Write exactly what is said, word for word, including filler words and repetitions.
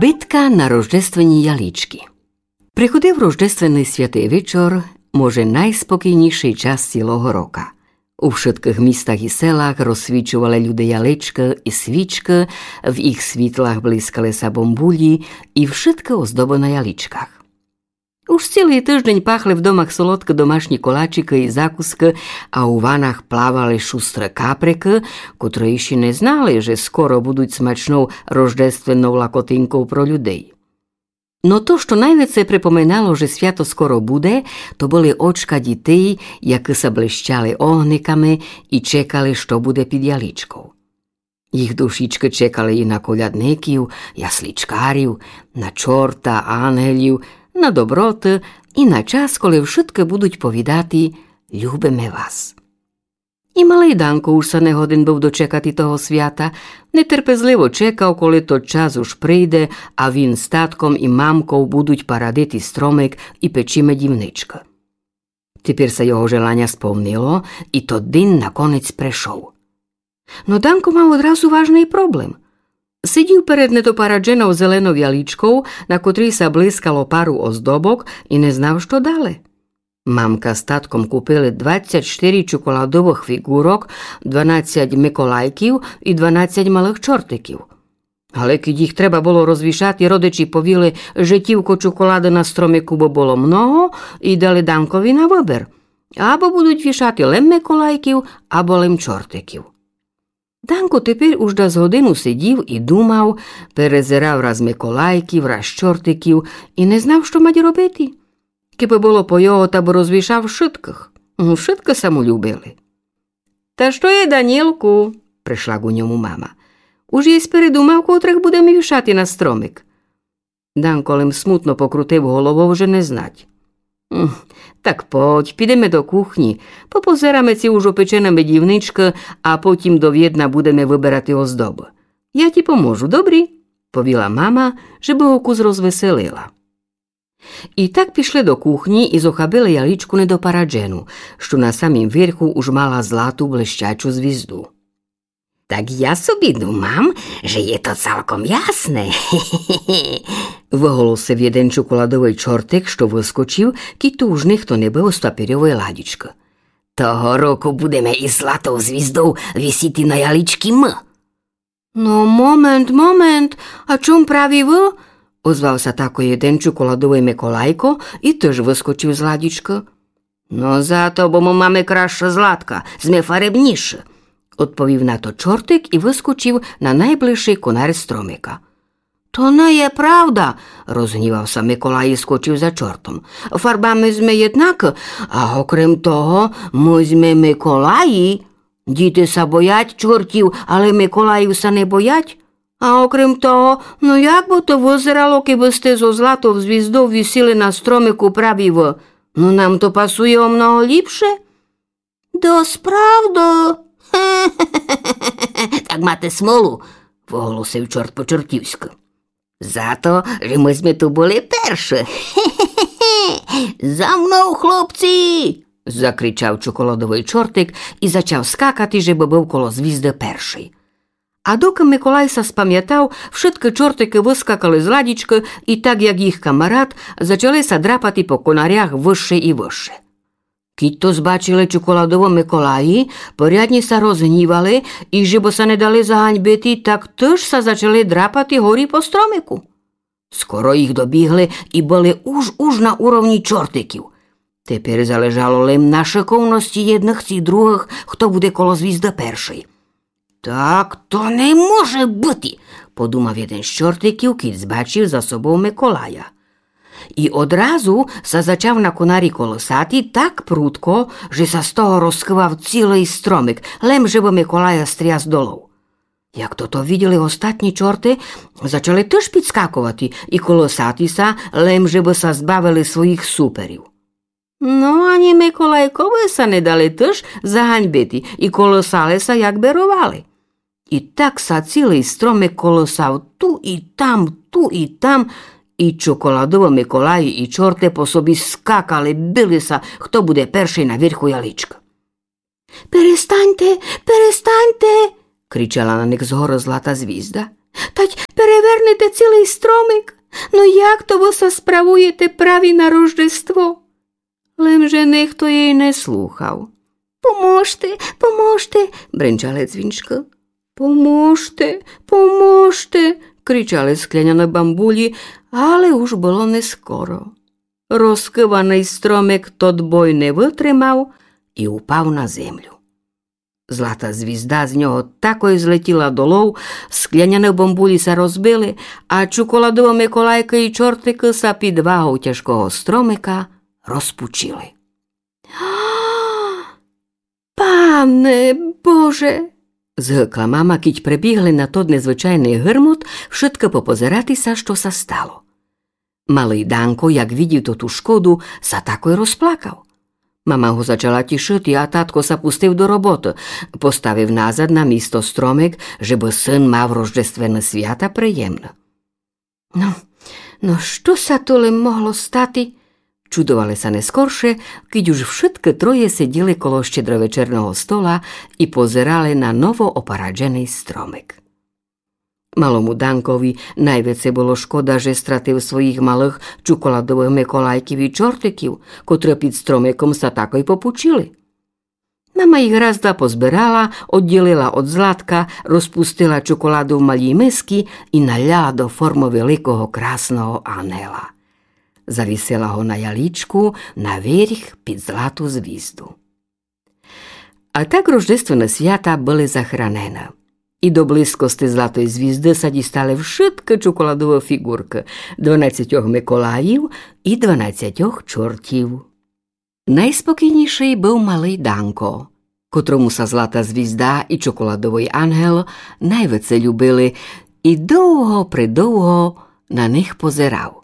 Питка на рождественї яличкы. Приходив рождественный святый вечор, може, найспокійнїйшый час цїлого рока. У вшыткых містах и селах розсвічовали люде яличкы и свічкы, в їх світлах блискали ся бомбулї и вшыткы оздобы на яличках. Уж цїлый тыждень пахли в домах солодкы домашнї колачикы и закускы, а у ванах плавали шустры каприкы, котры іщи не знали, же скоро будуть смачнов рождественнов лакотинков про людей. Но то, што найвеце припоминало, же свято скоро буде, то были очка дїтей, якы ся блищали огниками и чекали, што буде під яличков. Їх душічкы чекали и на колядників, яслічкарів, на чорта, ангелів, на доброты и на час, коли вшыткы будуть повідати: «Любиме вас». И малый Данко уж ся не годен быв дочекати того свята, нетерпезливо чекав, коли тот час уж прийде, а він з татком и мамков будуть парадити стромик и печи медівничкы. Тепер ся його желаня сповнило, и тот день наконець пришов. Но Данко мав одразу важный проблем. Сидїв перед недопарадженов зеленов яличков, на котрій ся блискало пару оздобок, и не знав, што дале. Мамка з татком купили двадцять штыри чоколадовых фіґурок, дванадцять Миколайків и дванадцять малых чортиків. Але кідь їх треба было розвішати, родичі повіли, же тілько чоколады на стромику бы было много, и дали Данкови на выбер: або будуть вішати лем Миколайків, або лем чортиків. Данко тепер уж дас годину сидїв и думав, перезирав раз Миколайків, раз чортиків и не знав, што мать робити. Кибы было по його, та бы розвішав вшыткых. Вшыткы ся му любили. «Та што є, Данілку?» — пришла ку ньому мама. «Уж єсь передумав, котрых будеме вішати на стромик?» Данко лем смутно покрутив головов, же не знать. «М, так подь, підеме до кухнї, попозераме, ци уж опечена медівничка, а потім довєдна будеме выберати оздобы. Я ті поможу, добрі?» — повіла мама, жебы го кус розвеселила. И так пішли до кухнї и зохабили яличку недопараджену, што на самім верху уж мала злату блищачу звізду. «Так я собі думам, же є то цалком ясне», — выголосив єден чоколадовый чортик, што выскочив, кідь ту уж нихто не быв з папірьовой ладічкы. «Того року будеме из златов звіздов висіти на яличкы мы». «Но, момент, момент, а чом праві вы?» — озвав ся тако єден чоколадовый Миколайко и тыж выскочив з ладічкы. «Но зато, бо мы маме красше златка, зме фаребніші», — одповів на то чортик и выскочив на найближшый конар стромика. «То не є правда», — розгнівав ся Миколай и скочив за чортом. «Фарбами зме єднакы, а окрем того, мы зме Миколаї. Діти ся боять чортів, але Миколаїв ся не боять. А окрем того, но як бы то вызерало, кибы сте зо златов звіздов висіли на стромику праві вы? Но нам то пасує о много ліпше». «Досправды?» «Так мате смолу», — выголосив чорт по-чортівськы. «Зато, же мы зме ту были перші. За мнов, хлопці!» — закричав чоколадовый чортик и зачав скакати, жебы быв коло звізды першый. А докы Миколай ся спамятав, вшыткы чортикы выскакали з ладічкы и так, як їх камарат, зачали ся драпати по конарях выше и выше. Кідь то збачили чоколадово Миколаї, порядні ся розгнівали и, жебы ся не дали заганьбити, так тыж ся зачали драпати горі по стромику. Скоро їх добігли и были уж-уж на уровні чортиків. Тепер залежало лем на шыковности єдных ци другых, хто буде коло звізды першый. «Так то не може быти», — подумав єден з чортиків, кідь збачив за собов Миколая. И одразу ся зачав на конарі колысати так прудко, же ся з того розкывав цілый стромик, лем жебы Миколая стряс долов. Як тото виділи остатні чорты, зачали тыж підскаковати и колысати ся, лем жебы ся збавили своїх суперів. Но, ані Миколайковы ся не дали тыж заганьбити и колысали ся, як беровали. И так ся цілый стромик колысав ту и там, ту и там, и чоколадово Миколаї и чорты по собі скакали, били ся, хто буде першый на верху яличкы. «Перестаньте, перестаньте!» — кричала на них згоры злата звізда. Тадь перевернете цілый стромик? Но як то вы ся справуєте праві на Рождество? Лем же нихто єй не слухав. Поможте, поможте, бренчали дзвінчкы. Поможте, поможте, кричали скляняны бамбулі, але уж было нескоро. Розкываный стромик тот бой не вытримав і упав на землю. Злата звізда з нього такой злетіла долов, скляняны бамбулі ся розбили, а чоколадовы Миколайкы і чортикы ся під вагов тяжкого стромика розпучили. Пане Боже! Згыкла мама, кідь прибігли на тот незвычайный гырмут вшыткы попозерати ся, што ся стало. Малый Данко, як видів тоту шкоду, ся такой розплакав. Мама го зачала тішыти, а татко ся пустив до роботы, поставив назад на місто стромик, жебы сын мав рождественны свята приємны. Но, но што ся то лем могло стати? Чудовали ся нескорше, кідь уж вшыткы троє сиділи коло щедровечерного стола і позерали на новоопарадженый стромик. Малому Данкові найвеце было шкода, же стратив своїх малых чоколадовых Миколайків і чортиків, котры під стромиком ся такой попучили. Мама їх раз-два позбирала, одділила од златка, розпустила чоколаду в малі миски і наляла до формы великого красного ангела. Завісила го на ялічку наверх під злату звізду. А так рождественны свята были захранены. І до близкости златой звізды ся дістали вшыткы чоколадовы фіґуркы дванадцятьох Миколаїв і дванадцятьох чортів. Найспокійнішый быв малый Данко, котрому ся злата звізда і чоколадовый ангел найвеце любили, і довго-придовго на них позирав.